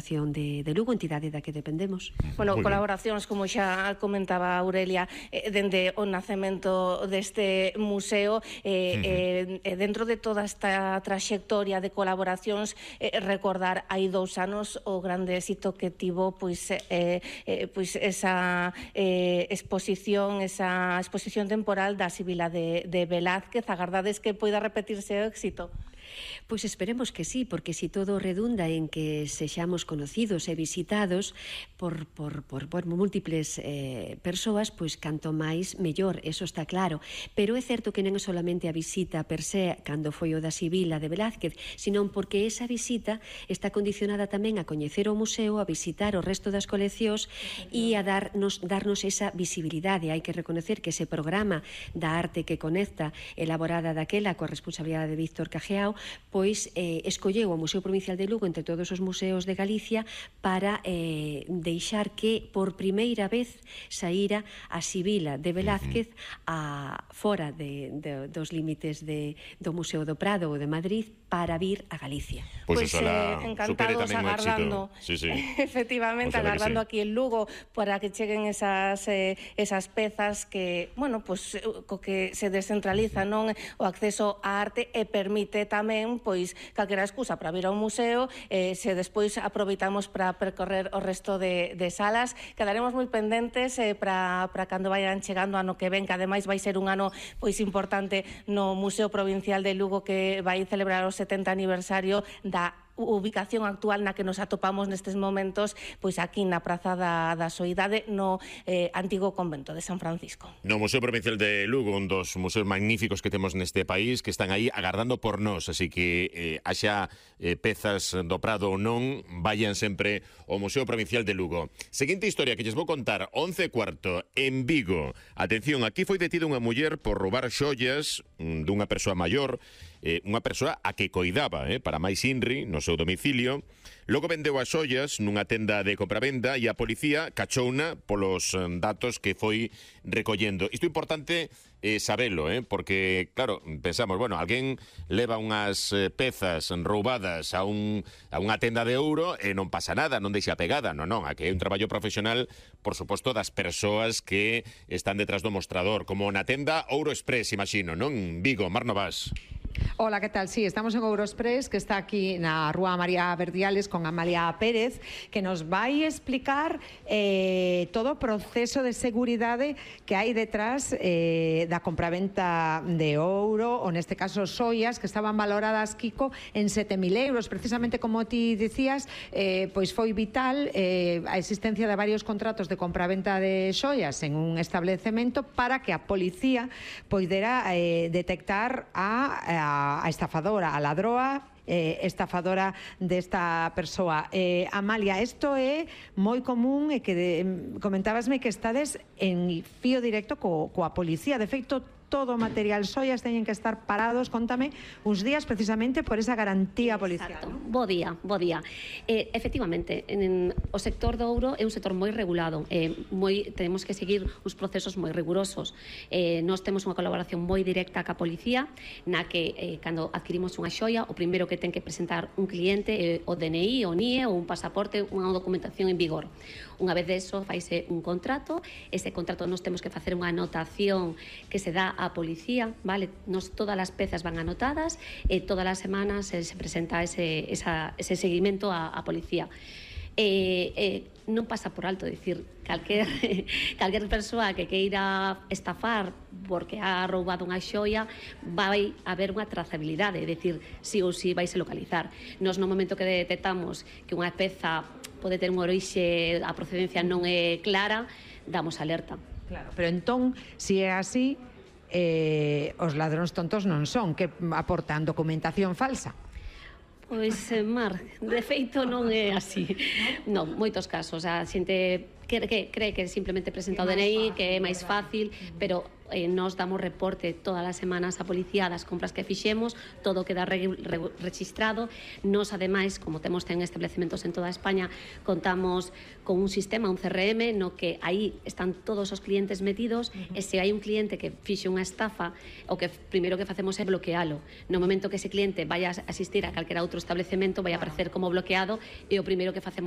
Deputación de Lugo, entidade da que dependemos. Bueno, colaboracións, como xa comentaba Aurelia, dende o nacemento deste museo, dentro de toda esta traxectoria de colaboracións, recordar hai 2 anos o grande éxito que tivo esa exposición temporal da Sibila de Velázquez. Agardades que poida repetirse o éxito? Pois esperemos que sí, porque si todo redunda en que sexamos conocidos e visitados por múltiples persoas, pois canto máis mellor, eso está claro. Pero é certo que non é solamente a visita per se, cando foi o da Sibila de Velázquez, senón porque esa visita está condicionada tamén a coñecer o museo, a visitar o resto das coleccións e a darnos esa visibilidade. Hai que reconocer que ese programa da arte que conecta, elaborada daquela coa responsabilidade de Víctor Cajeao, pois escolleu o Museo Provincial de Lugo entre todos os museos de Galicia para deixar que por primeira vez saíra a Sibila de Velázquez fora dos límites do Museo do Prado ou de Madrid para vir a Galicia. Pois encantados agardando, efectivamente, agardando aquí en Lugo para que cheguen esas pezas que, bueno, pois co que se descentraliza, non, o acceso á arte e permite tamén, pois, calquera excusa para vir ao museo, se despois aproveitamos para percorrer o resto de salas. Quedaremos moi pendentes para cando vayan chegando ano que ven, que ademais vai ser un ano pois importante no Museo Provincial de Lugo, que vai celebrar o 70 aniversario da ubicación actual na que nos atopamos nestes momentos, pois aquí na Praza da Soidade, no antigo convento de San Francisco. No Museo Provincial de Lugo, un dos museos magníficos que temos neste país, que están aí agardando por nós, así que haxa pezas do Prado ou non, vayan sempre ao Museo Provincial de Lugo. Seguinte historia que lles vou contar, 11:15, en Vigo. Atención, aquí foi detida unha muller por roubar xoias dunha persoa maior, unha persoa a que coidaba, para máis inri, no seu domicilio. Logo vendeu as xoias nunha tenda de compravenda e a policía cachouna polos datos que foi recollendo. Isto é importante sabelo, porque, claro, pensamos, bueno, alguén leva unhas pezas roubadas a unha tenda de ouro e non pasa nada, non deixa pegada, non, aquí hai un traballo profesional, por suposto, das persoas que están detrás do mostrador, como na tenda Ouro Express, imagino, non? Vigo, Mar Novas. Hola, ¿qué tal? Sí, estamos en Euroexpress, que está aquí na Rúa María Verdiales con Amalia Pérez, que nos vai explicar todo o proceso de seguridade que hai detrás da compraventa de ouro, ou neste caso xoias, que estaban valoradas, Kiko, en 7.000 euros. Precisamente como ti dicías, pois foi vital a existencia de varios contratos de compraventa de xoias en un establecemento para que a policía poidera detectar a estafadora, a ladroa estafadora desta persoa. Amalia, isto é moi común e que comentábasme que estades en fío directo coa policía. De feito, todo o material xoias teñen que estar parados, contame, uns días precisamente por esa garantía policial. Exacto. Bo día. Efectivamente, o sector do ouro é un sector moi regulado, tenemos que seguir uns procesos moi rigurosos. Nós temos unha colaboración moi directa ca policía, na que cando adquirimos unha xoia, o primeiro que ten que presentar un cliente o DNI, o NIE ou un pasaporte, unha documentación en vigor. Unha vez deso, faise un contrato, ese contrato nós temos que facer unha anotación que se dá á policía, vale? Todas as pezas van anotadas e todas as semanas se presenta ese seguimento á policía. Non pasa por alto, dicir, calquer persoa que queira estafar porque ha roubado unha xoia, vai haber unha trazabilidade, é dicir, si ou si vai se localizar. Nos no momento que detectamos que unha peza pode ter un orixe, a procedencia non é clara, damos alerta. Claro, pero entón, se é así, os ladróns tontos non son, que aportan documentación falsa. Pois, Mar, de feito non é así. Non, moitos casos. A xente cree que simplemente presenta o DNI, que é máis fácil, pero nós damos reporte todas as semanas á policía das compras que fixemos, todo queda registrado. Nós, ademais, como temos establecementos en toda España, contamos con un sistema, un CRM, no que aí están todos os clientes metidos, e se hai un cliente que fixe unha estafa, o que primeiro que facemos é bloquealo. No momento que ese cliente vai a asistir a calquera outro establecemento, vai a aparecer como bloqueado, e o primeiro que facemos